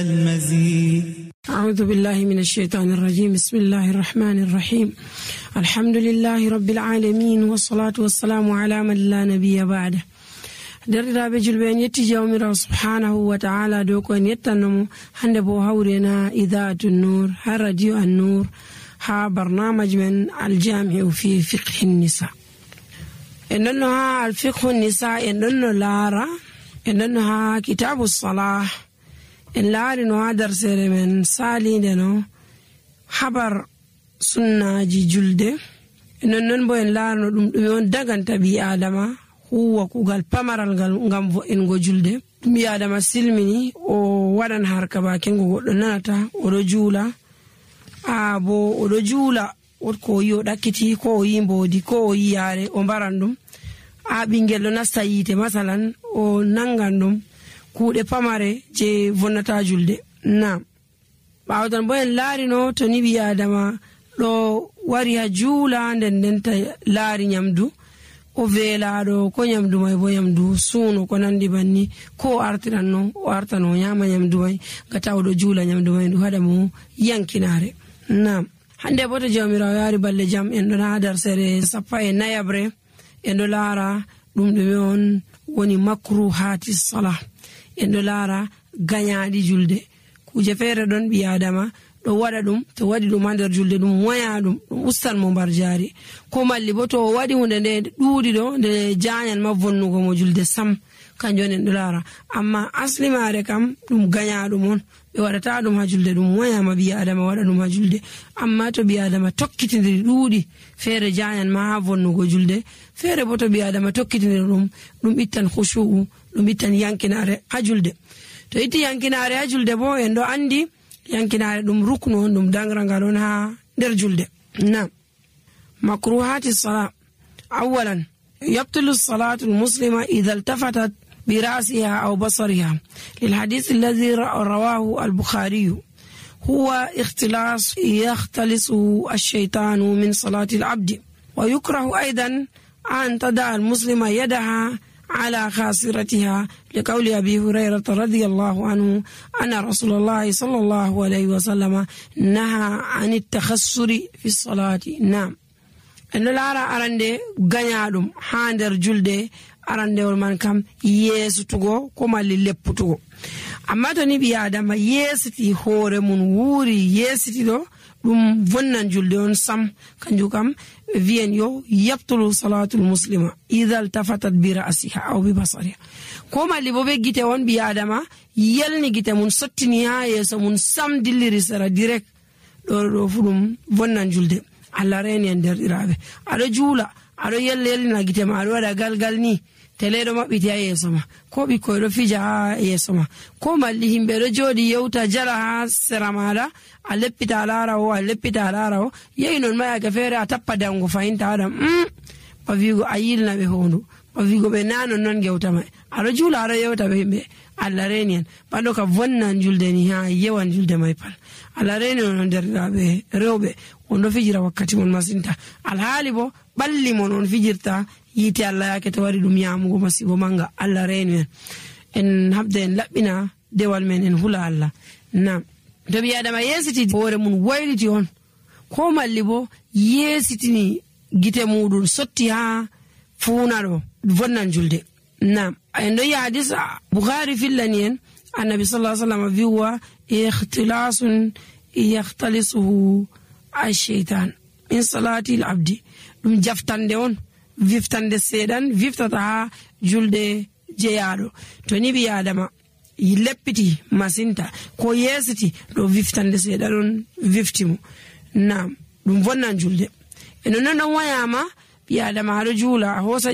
المزيد. أعوذ بالله من الشيطان الرجيم. بسم الله الرحمن الرحيم. الحمد لله رب العالمين والصلاة والسلام على من لا نبي بعده. derɗiraɓe julɓe en yetti jawmirawo subhanahu wa ta'ala dow ko en yettannomo hande bo hawrena idatu nur ha radio an nur ha barnamaj men aljami'u fi fiqhi nisa. en ɗonno ha alfiqhu nisa en ɗonno laara en ɗonno ha kitabu salah en laari no ha darsere men salinde no habar sunnaji julde. non bo en laarno ɗum ɗume on daganta ɓi adama huwa kugal pamaral ngal ngam vo'ingo julde. ɓi adama silmini o waɗan harka bakengo goɗɗo nanata oɗo juula bo oɗo juula ko o yi o ɗakkiti ko o yi mbodi ko o yi yaare o mbaran ɗum ɓingel ɗo nasta yiite masalan o nangan ɗum kuuɗe pamare je vonnata julde. Naam, ɓawtan bo en laarino to ni ɓi adama ɗo wari ha juula ndendenta laari nyamdu o veelaɗo ko nyamdu mai bo nyamdu suuno ko nandi banni ko o artiranno o artano o nyama nyamdu mai gata oɗo juula nyamdu mai ɗum haɗa mo yankinare. Naam, hande bo to jawmirawo yaari balle jam en ɗon ha darsere 14 en ɗo laara ɗum ɗume on woni makruhati salah. en ɗo laara gañaaɗi julde. kuje feere ɗon ɓi adama ɗo waɗa ɗum to waɗi ɗum ha nder julde ɗum waya ɗum ustan mo mbar jaari ko malli bo to o waɗi hunde nde ɗuuɗi ɗo nde jañan ma vonnugo mo julde sam kanjum on en ɗo laara. amma asli maare kam ɗum gañaɗum on ɓe waɗata ɗum ha julde ɗum wayama ɓi adama waɗa ɗum ha julde. amma to ɓi adama tokkitidiri ɗuuɗi feere jañan ma ha vonnugo julde feere bo to ɓi adama tokkitidiri ɗum ittan khushu'u ɗum ittan yankinare ha julde. to itti yankinare ha julde bo en ɗo andi yankinare ɗum ruknu on ɗum dangrangal on ha nder julde. Naam, makruhati salat. awalan yabtulu salatu almuslima idha iltafatat برأسها أو بصرها للحديث الذي رواه البخاري هو اختلاس يختلسه الشيطان من صلاة العبد. ويكره أيضا أن تدع المسلمة يدها على خاصرتها لقول أبي هريرة رضي الله عنه أن رسول الله صلى الله عليه وسلم نهى عن التخسر في الصلاة. نعم، أن لارا أرندي غنيادم هاندر جلده arandewol man kam yeesutugo ko malli lepputugo. amma to ni ɓi adama yeesiti hoore mun wuuri yeesiti ɗo ɗum vonnan julde on sam. kanjum kam wiyen yo yabtulu salatul muslima idha iltafatat bi ra'siha aw bi basariha. ko malli bo be gite on ɓi adama yelni gite mun sottini ha yeeso mun sam dilliri sera direct ɗo fu ɗum vonnan julde. Allah reni en derɗiraɓe, aɗo juula aɗo yellina gite ma aɗo waɗa galgal ni teleɗo maɓɓiti ha yeeso ma ko ɓikkoy ɗo fija ha yeeso ma ko malli himɓe ɗo jooɗi yewta jala ha sera maɗa a leppita a laara o yehi non ma yake feere a tappa dango fahinta waɗam ba wigo a yilna ɓe hondu ba wigo ɓe nanon non gewta ma aɗo juula aɗo yewta ɓe himɓe. Allah reni en ɓaɗo ka vonnan julde ni ha yewan julde may pal. Allah reni on derɗiraɓe rewɓe on ɗo fijira wakkati mon masinta alhaali bo ɓalli mon on fijirta yite Allah yake to wari ɗum yamugo masibo manga. Allah reni en habda en laɓɓina dewal men en hula Allah. Nam, to ɓi adama yeesiti hoore mun wayliti on ko malli bo yeesitini gite muɗum sotti ha fuuna ɗo vonnan julde. Nam, en ɗo yi hadis Bukhari fillani en annabi sallallahu alaihi wasallam wiwa ikhtilasun yakhtalisuhu ash-shaytan min salati al-abdi. ɗum jaftande on viftande seeɗan viftata ha julde jeyaɗo. to ni ɓi adama leppiti masinta ko yeesiti ɗo viftande seeɗan on viftimo. Nam, ɗum vonnan julde. eno non ɗon wayama ɓi adama haɗo juula a hosa